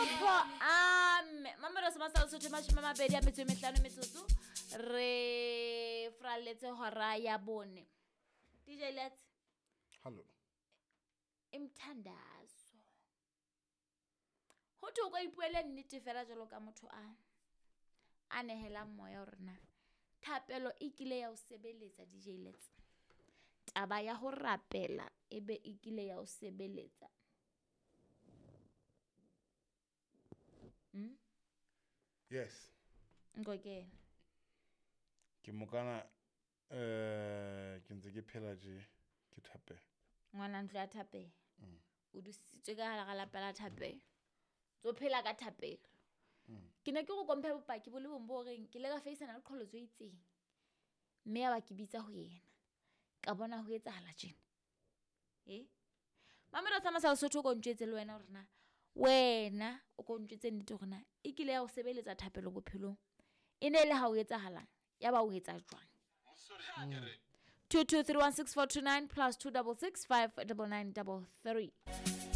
Tlhompho ame mamelodi sa masala sotho 25 metsotso re fraletse hora ya bone. DJ Let's. Hello. Imthandazo. Ho thwe o ka ipuele nnete fela jwalo ka motho a a nehelang moya hore na thapelo e kile ya o sebeletsa DJ Let's. Taba ya ho rapela e be e kile ya o sebeletsa. Yes. Nkokela. Ke mokana ke ntse ke phela je ke thapelo. Ngwana ntlo ya thapelo. O dusitswe ka hara lapa la thapelo. Tso phela ka thapelo. Ke ne ke go komphe bopaki bo le bong bo reng ke le ka faisana le qholotso e itseng. Mme ya ba ke bitsa ho yena. Ka bona ho etsahala tjena. Eh? Mamelodi sa masala Sotho o ko ntjwetse le wena hore na wena o ko ntjwetse nnete hore na e kile ya o sebeletsa thapelo bophelong. E ne le ha o etsahalang ya ba o etsa jwang? 22316429 plus 266 59933.